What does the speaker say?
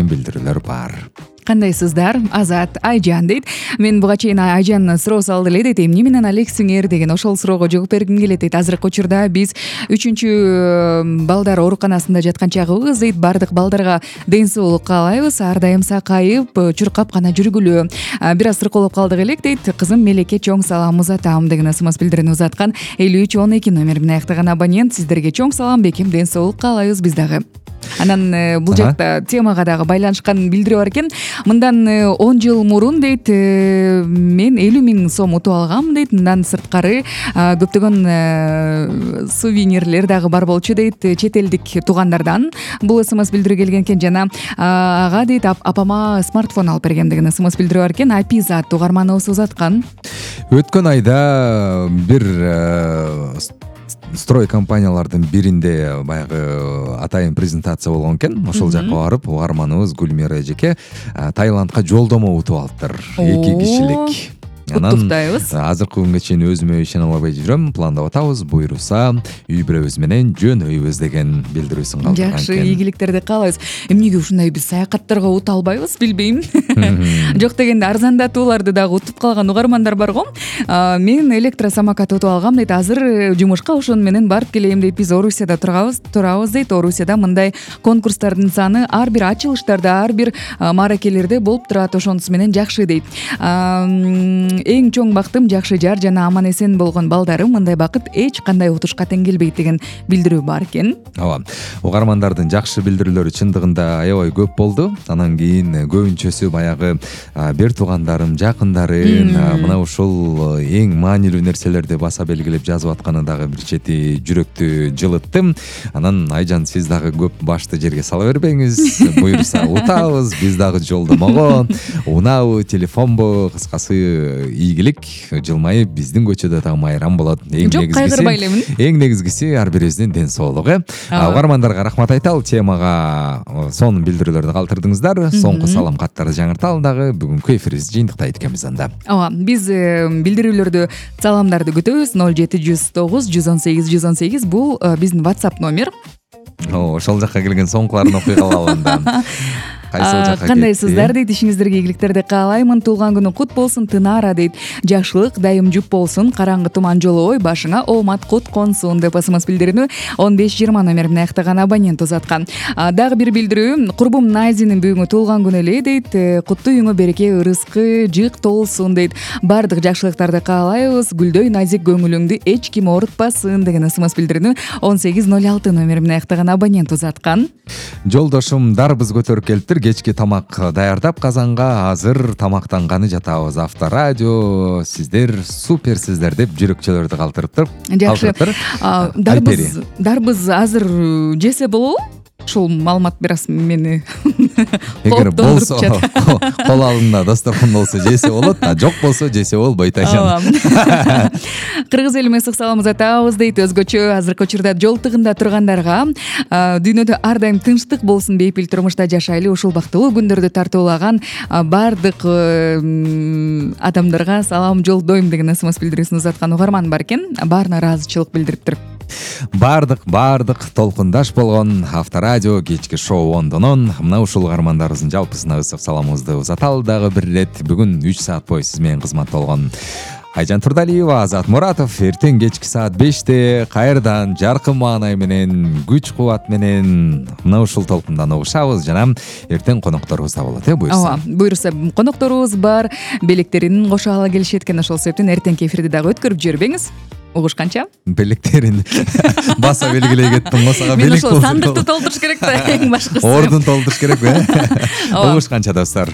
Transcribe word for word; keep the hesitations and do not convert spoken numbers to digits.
деген билдирүүлөр бар. Кандайсыздар? Азат, Айжан дейт. Мен буга чейин Айжан суроо салды эле дейт. Эмне менен алексиңер деген ошол суроого жооп бергим келет дейт. Азыркы учурда биз үчүнчү балдар ооруканасында жаткан чагыбыз дейт. Бардык балдарга ден соолук каалайбыз. Ар дайым сакайып, чуркап гана жүргүлө. Бир аз сыркоолоп калдык элек дейт. Кызым Мелеке чоң салам узатам деген смс билдирүүнү узаткан. элүү үч он эки номер менен аяктаган абонент. Сиздерге чоң салам, бекем ден соолук каалайбыз биз дагы. Анан бул жакта темага дагы байланышкан билдирүү бар экен. Мындан он жыл мурун дейт, мен элүү миң сом утуп алгам дейт. Мындан сырткары көптөгөн сувенирлер дагы бар болчу дейт, чет элдик туугандардан. Бул смс билдирүү келген экен жана ага дейт апама смартфон алып бергем деген смс билдирүү бар экен. Айпизат угарманыбыз узаткан. Өткөн айда бир строй компаниялардын биринде баягы атайын презентация болгон экен. Ошол жакка барып угарманыбыз Гүлмира эжеке Таиландка жолдомо утуп алыптыр. эки кишилик. Куттуктайбыз. Азыркы күнгө чейин өзүмө ишене албай жүрөм. Пландап атабыз. Буйруса үй бүлөбүз менен жөнөйбүз деген билдирүүсүн калтырган экен. Жакшы, ийгиликтерди каалайбыз. Эмнеге ушундай биз саякаттарга утуп албайбыз, билбейм. Жок дегенде арзандатууларды дагы утуп калган угармандар бар го. Мен электросамокат утуп алгам дейт. Азыр жумушка ошону менен барып келем дейт. Биз Орусияда турабыз, турабыз дейт. Орусияда мындай конкурстардын саны ар бир ачылыштарда, ар бир мааракелерде болуп турат. Ошонусу менен жакшы дейт. Эң чоң бактым жакшы жар жана аман эсен болгон балдарым. Мындай бакыт эч кандай утушка тең келбейт деген билдирүү бар экен. Ооба. Угармандардын жакшы билдирүүлөрү чындыгында аябай көп болду. Анан кийин көбүнчөсү баягы бир туугандарым, жакындарын мына ушул эң маанилүү нерселерди баса белгилеп жазып атканы дагы бир чети жүрөктү жылытты. Анан Айжан, сиз дагы көп башты жерге сала бербеңиз. Буйруса утабыз, биз дагы жолдомого унаабы, телефонбу, кыскасы ийгилик жылмайып биздин көчөдө да майрам болот. Эң негизгиси эң негизгиси ар бирибиздин ден соолугу. Угармандарга рахмат айталы, темага сонун билдирүүлөрдү калтырдыңыздар. Соңку салам каттарды жаңырталы дагы. Бүгүнкү эфирибизди жыйынтыктайт экенбиз анда. Ооба, биз билдирүүлөрдү, саламдарды күтөбүз. ноль жети жүз тогуз жүз он сегиз жүз он сегиз бул биздин WhatsApp номер. О, ошол жакка келген соңкуларын окуй калалы анда. Кандайсыздар дейт, ишиңиздерге ийгиликтерди каалаймын. Туулган күнү кут болсун Тынара дейт. Жакшылык дайым жуп болсун, караңгы туман жолобой, башыңа оомат кут консун деп смс билдирүүнү он беш жыйырма номер менен аяктаган абонент узаткан. Дагы бир билдирүү, курбум Найзинин бүгүнкү туулган күнү эле дейт. Куттуу үйүңө береке, ырыскы жык толсун дейт. Бардык жакшылыктарды каалайбыз. Гүлдөй назик көңүлүңдү эч ким оорутпасын деген смс билдирүүнү он сегиз ноль алты номер менен аяктаган абонент узаткан. Жолдошум дарбыз көтөрүп келиптир. Кечки тамак даярдап казанга, азыр тамактанганы жатабыз. Авторадио, сиздер суперсиздер деп жүрөкчөлөрдү калтырыптыр. Жакшы. Дарбыз, дарбыз азыр жесе болобу? Ушул маалымат бир аз мени эгер болсо кол алында дасторкон болсо жесе болот, а жок болсо жесе болбойт Айжан. Кыргыз элиме ысык салам узатабыз дейт. Өзгөчө азыркы учурда жол тыгында тургандарга дүйнөдө ар дайым тынчтык болсун, бейпил турмушта жашайлы, ушул бактылуу күндөрдү тартуулаган бардык адамдарга салам жолдойм деген смс билдирүүсүн узаткан угарман бар экен. Баарына ыраазычылык билдириптир. Бардык бардык толкундаш болгон Авторадио кечки шоу ондонон мына ушул угармандарыбыздын жалпысына ысык саламыбызды узаталы дагы бир ирет. Бүгүн үч саат бою сиз менен кызмат болгон Айжан Турдалиева, Азат Муратов. Эртең кечки саат беште кайрадан жаркын маанай менен, күч кубат менен мына ушул толкундан угушабыз жана эртең конокторубуз да болот, э, буйруса. Ооба, буйруса конокторубуз бар, белектерин кошо ала келишет экен. Ошол себептен эртеңки эфирди дагы өткөрүп жибербеңиз. Угушканча? Белектерин баса белгилей кеттим. Мосага белек болсун. Мен ошол сандыкты толтуруш керек да, эң башкысы. Ордун толтуруш керек, э? Угушканча достор.